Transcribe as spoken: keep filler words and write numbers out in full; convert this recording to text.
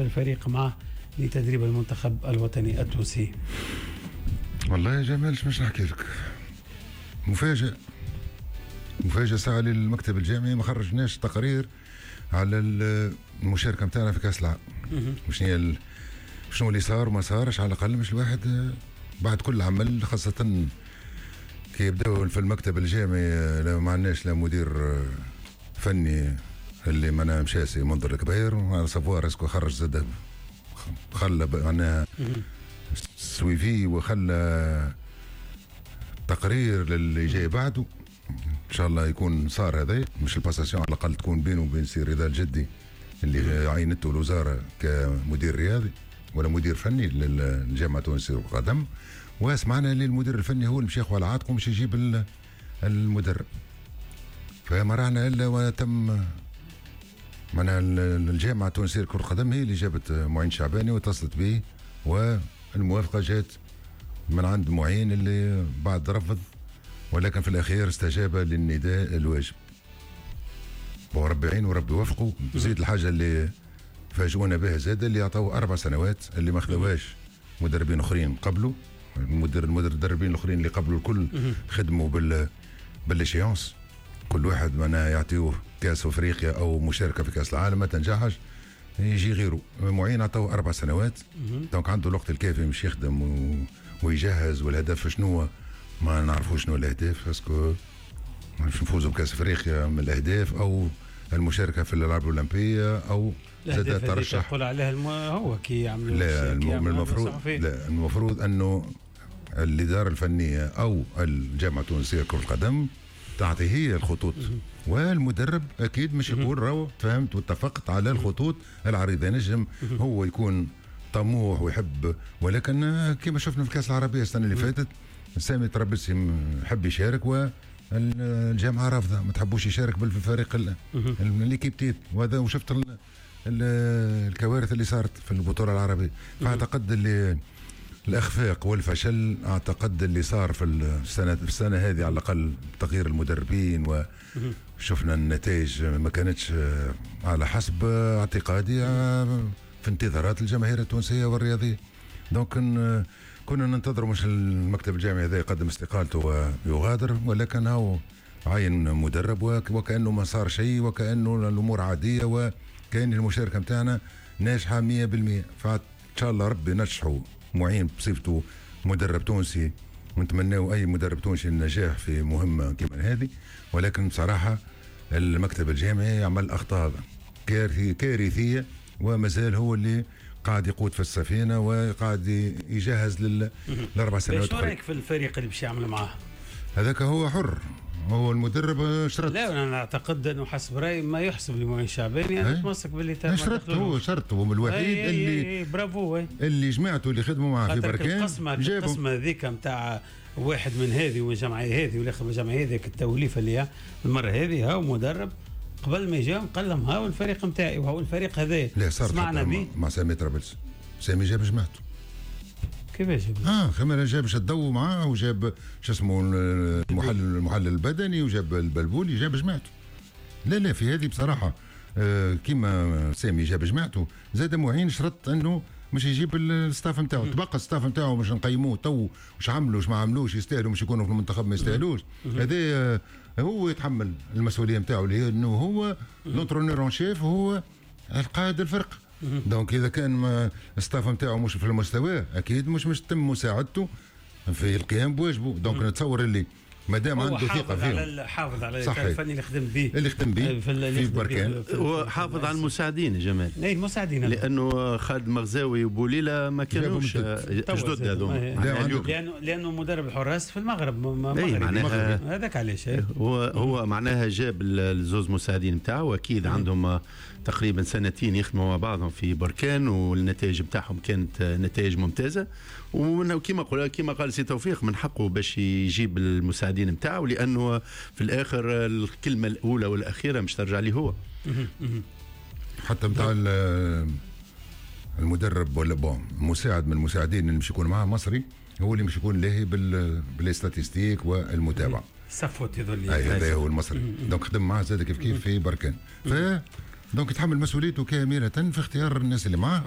الفريق معه لتدريب المنتخب الوطني التونسي؟ والله يا جمال مش نحكي لك، مفاجأة مفاجأة ساعة للمكتب الجامعي ما خرجناش تقرير على المشاركة نتاعنا في كأس العالم. شنو هي شنو اللي صار وما صارش، على الأقل مش الواحد بعد كل عمل، خاصة كي يبداو في المكتب الجامعي لا ما عندناش لا مدير فني اللي معناها مشى سي منذر الكبير savoir est-ce que خرج زاد خلى معناها suivi وخلى تقرير للي جاي بعده. ان شاء الله يكون صار هذا، مش ال passation على الاقل تكون بينه وبين سي رضا الجدي اللي عينته الوزارة كمدير رياضي ولا مدير فني للجامعة التونسية للقدم. وسمعنا اللي المدير الفني هو اللي مش ياخذ على عاتقه مش يجيب المدرب، فما رانا الا وتم معناها الجامعة التونسية لكرة القدم هي اللي جابت معين شعباني واتصلت به، والموافقة جات من عند معين اللي بعد رفض، ولكن في الاخير استجاب للنداء الواجب. وربي يعين وربي يوفقه. زيد الحاجة اللي فاجئونا بها زاد اللي عطوه اربع سنوات اللي ما خذوهاش مدربين اخرين قبله. المدرب المدربين الاخرين اللي قبله الكل خدموا بال بال échéances، كل واحد معناها يعطيوه كاس افريقيا او مشاركة في كاس العالم، ما تنجحش يجي غيره. معين عطوه اربع سنوات، donc عنده الوقت الكافي باش يخدم و... ويجهز. والهدف شنو ما نعرفوش شنو الاهداف، est-ce que باش نفوزوا بكاس افريقيا من الاهداف او المشاركة في الالعاب الاولمبية او زاد ترشح تقول عليها الم... هو كي يعملوا. لا المفروض لا المفروض انه الادارة الفنية او الجامعة التونسية لكرة القدم تعطي هي الخطوط، والمدرب اكيد مش يقول راهو تفهمت واتفقت على الخطوط العريضة. نجم هو يكون طموح ويحب، ولكن كما شفنا في الكاس العربية السنة اللي فاتت سامي طرابلسي حب يشارك والجامعة رافضه، ما تحبوش يشارك بالفريق l'équipe type، وهذا وشفت الكوارث اللي صارت في البطولة العربية. فاعتقد اللي الاخفاق والفشل اعتقد اللي صار في السنة في السنة هذه على الاقل تغيير المدربين وشفنا النتائج ما كانتش على حسب اعتقادي في انتظارات الجماهير التونسية والرياضيه. donc كنا ننتظر مش المكتب الجامعي هذا يقدم استقالته ويغادر، ولكن هو عين مدرب وكانه ما صار شيء وكانه الامور عادية وكان المشاركة نتاعنا ناجحة مية بالمية. فان شاء الله ربي نجحوا معين بصفته مدرب تونسي، ونتمناو اي مدرب تونسي النجاح في مهمة كما هذه. ولكن بصراحة المكتب الجامعي عمل اخطاء كارثية، ومازال هو اللي قاعد يقود في السفينة وقاعد يجهز للاربع سنوات. شو رايك في الفريق اللي باش يعمل معاه؟ هذاك هو حر، هو المدرب شرط. لا انا اعتقد انه حسب رايي ما يحسب لمعين شعباني يعني يتمسك باللي تم. شرط هو شرط، هو الوحيد أي اللي أي برافو أي. اللي جماعته اللي خدموا معاه في بركان القسمة القسمة هذيك نتاع واحد من هذه ومن جمعية هذه والاخر من جمعية هذيك التوليفه اللي المرة هذه هاو مدرب قبل ما يجاهم قال لهم هاو الفريق نتاعي وهاو الفريق هذا. لا صار سمعنا به مع سامي طرابلسي، سامي جاب جماعته. كيفاش جاب؟ اه خمر جاب شدو معاه وجاب شو اسمه المحلل المحلل البدني وجاب البلبولي، جاب جماعته. لا لا في هذه بصراحة آه كيما سامي جاب جماعته، زاد معين شرط انه مش يجيب ال staff نتاعو، تبقى ال staff نتاعو مش نقيموه تو واش عملوا واش ما عملوش، يستاهلوا مش يكونوا في المنتخب ما يستاهلوش. هذا هو يتحمل المسؤولية نتاعو اللي هي انه هو l'entraîneur en chef، هو القائد الفرق. donc اذا كان ال staff نتاعو مش في المستوى اكيد مش مش تم مساعدته في القيام بواجبه. donc نتصور اللي ما دام عنده ثقة فيهم، حافظ على الفني اللي خدم به اللي خدم به في, في بركان، وحافظ على المساعدين جمال. اي المساعدين، لانه خالد مغزاوي وبوليله ما كانوش جدد هذوما، لانه لانه مدرب الحراس في المغرب مغربي، هذاك علاش هو هو معناها جاب الزوز مساعدين نتاعو، اكيد عندهم تقريبا سنتين يخدموا مع بعضهم في بركان، والنتائج نتاعهم كانت نتائج ممتازة. وكما قال كما قال سي توفيق من حقه باش يجيب المساعدين نتاعو، لانه في الاخر الكلمة الاولى والاخيرة مش ترجع لي هو. حتى نتاع المدرب ولا bon مساعد من المساعدين اللي مش يكون معاه مصري، هو اللي مش يكون لاهي بال statistiques والمتابعة. صفوت يظل اي هذا هو المصري، donc خدم معاه زاد كيف كيف في بركان. ف donc يتحمل مسؤوليته كاملة في اختيار الناس اللي معاه.